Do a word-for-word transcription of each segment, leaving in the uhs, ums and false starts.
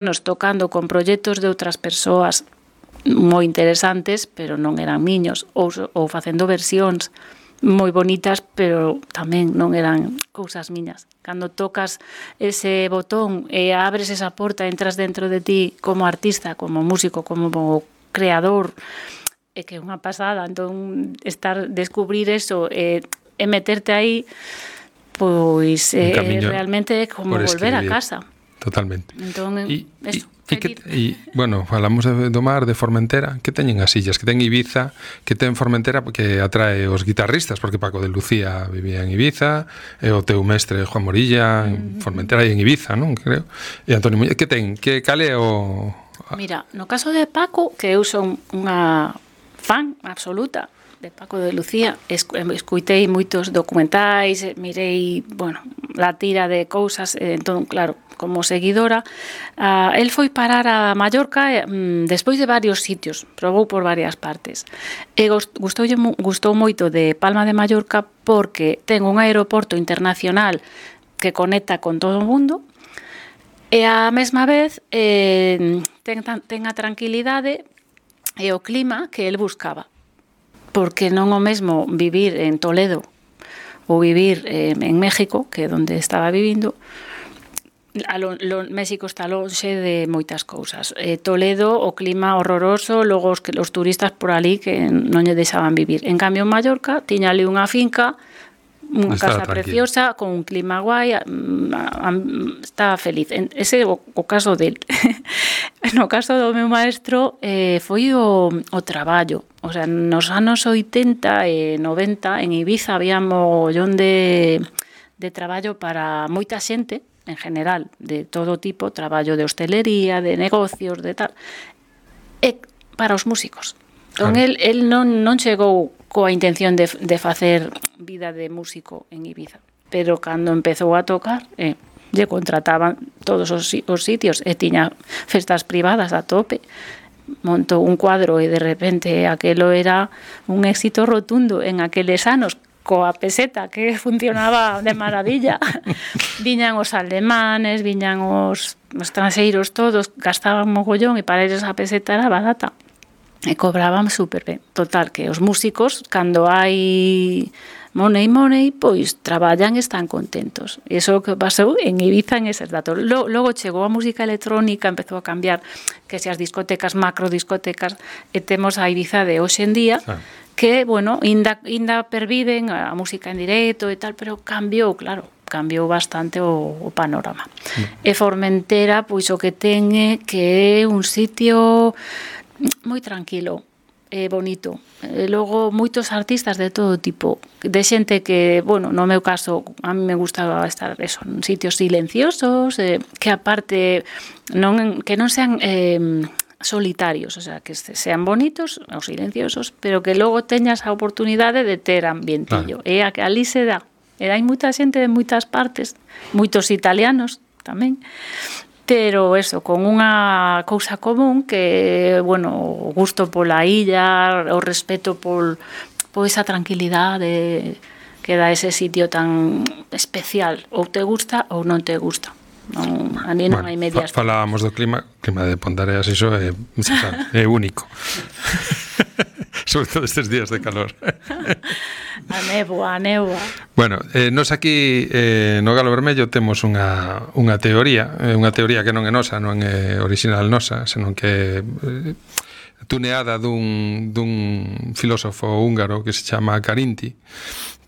nos tocando con proxectos de outras persoas moi interesantes, pero non eran miños, ou, ou facendo versións moi bonitas, pero tamén non eran cousas miñas. Cando tocas ese botón e abres esa porta, entras dentro de ti como artista, como músico, como creador, é que é unha pasada. Entón, estar, descubrir eso e, e meterte aí, pois eh, realmente é como volver a casa. Totalmente. Entón, e, eso, e, que, e, bueno, falamos de, do mar, de Formentera, que teñen as illas, que ten Ibiza, que ten Formentera, que atrae os guitarristas, porque Paco de Lucía vivía en Ibiza, e o teu mestre Juan Morilla, en Formentera e en Ibiza, non? Creo. E Antonio Muñoz, que ten? Que cale o... Mira, no caso de Paco, que eu son unha fan absoluta de Paco de Lucía, escuitei moitos documentais, mirei, bueno, la tira de cousas, entón, claro, como seguidora, uh, el foi parar a Mallorca um, despois de varios sitios, probou por varias partes. E gustou, gustou moito de Palma de Mallorca porque ten un aeroporto internacional que conecta con todo o mundo e a mesma vez eh, ten, ten a tranquilidade e o clima que el buscaba. Porque non o mesmo vivir en Toledo ou vivir eh, en México, que é onde estaba vivindo. A lo, lo, México está lonxe de moitas cousas. Eh, Toledo, o clima horroroso, logo os, os turistas por ali que non lle deixaban vivir. En cambio, en Mallorca, tiña ali unha finca, unha casa tranquilo, preciosa, con un clima guai, estaba feliz. Ese é o, o caso del. No caso do meu maestro, eh, foi o, o traballo. O sea, nos anos oitenta e noventa, en Ibiza había mogollón de, de traballo para moita xente, en general, de todo tipo, traballo de hostelería, de negocios, de tal, e para os músicos. Entón, claro. el, el non, non chegou coa intención de, de facer vida de músico en Ibiza, pero cando empezou a tocar, eh, lle contrataban todos os, os sitios e tiña festas privadas a tope, montou un cuadro e de repente aquelo era un éxito rotundo en aqueles anos, coa peseta que funcionaba de maravilla. Viñan os alemanes, viñan os, os tranxeiros todos, gastaban mogollón e para eles a peseta era barata e cobraban super ben. Total, que os músicos, cando hai money, money, pois traballan e están contentos. E iso que pasou en Ibiza en eses datos. Logo chegou a música electrónica, empezou a cambiar, que se as discotecas, macro discotecas, e temos a Ibiza de hoxe en día, ah. que, bueno, inda, inda perviven a música en directo e tal, pero cambiou, claro, cambiou bastante o, o panorama. Mm. E Formentera, pois o que ten é que é un sitio moi tranquilo, é bonito. E logo, moitos artistas de todo tipo, de xente que, bueno, no meu caso, a mí me gustaba estar eso, en sitios silenciosos, eh, que aparte, non, que non sean... Eh, solitarios, o sea, que sean bonitos ou silenciosos, pero que logo teñas a oportunidade de ter ambientillo. Claro. E a que ali se dá. E hai moita xente de moitas partes, moitos italianos tamén, pero eso, con unha cousa común que, bueno, o gusto pola illa, o respeto por, por esa tranquilidade que dá ese sitio tan especial. Ou te gusta ou non te gusta. Non, a mí non bueno, hai medias. Fa, falábamos do clima, o clima de Pontareas, iso é, é único. Sobre todo estes días de calor. A néboa, a néboa. Bueno, eh, nos aquí eh, no Galo Vermello temos unha, unha teoría, eh, unha teoría que non é nosa, non é original nosa, senón que eh, tuneada dun, dun filósofo húngaro que se chama Carinti,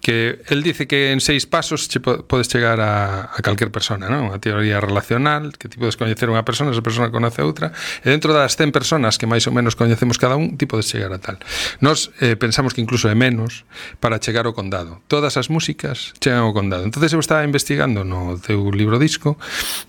que el dice que en seis pasos che podes chegar a, a calquer persona, non? A teoría relacional, que ti podes coñecer unha persona, esa persona conoce a outra, e dentro das cen personas que máis ou menos coñecemos cada un, ti podes chegar a tal. Nos eh, pensamos que incluso é menos para chegar ao condado. Todas as músicas chegan ao condado. Entonces eu estaba investigando no teu libro disco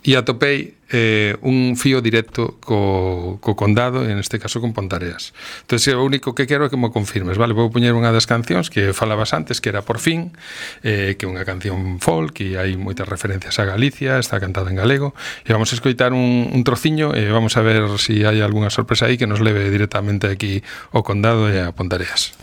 e atopei eh, un fío directo co, co condado, en este caso con Pontareas. Entonces o único que quero é que me confirmes, vale? Vou poñer unha das cancións que falabas antes, que era Por fin, eh, que é unha canción folk e hai moitas referencias a Galicia, está cantada en galego, e vamos a escoitar un, un trociño e vamos a ver se si hai algunha sorpresa aí que nos leve directamente aquí ao condado e a Pontareas.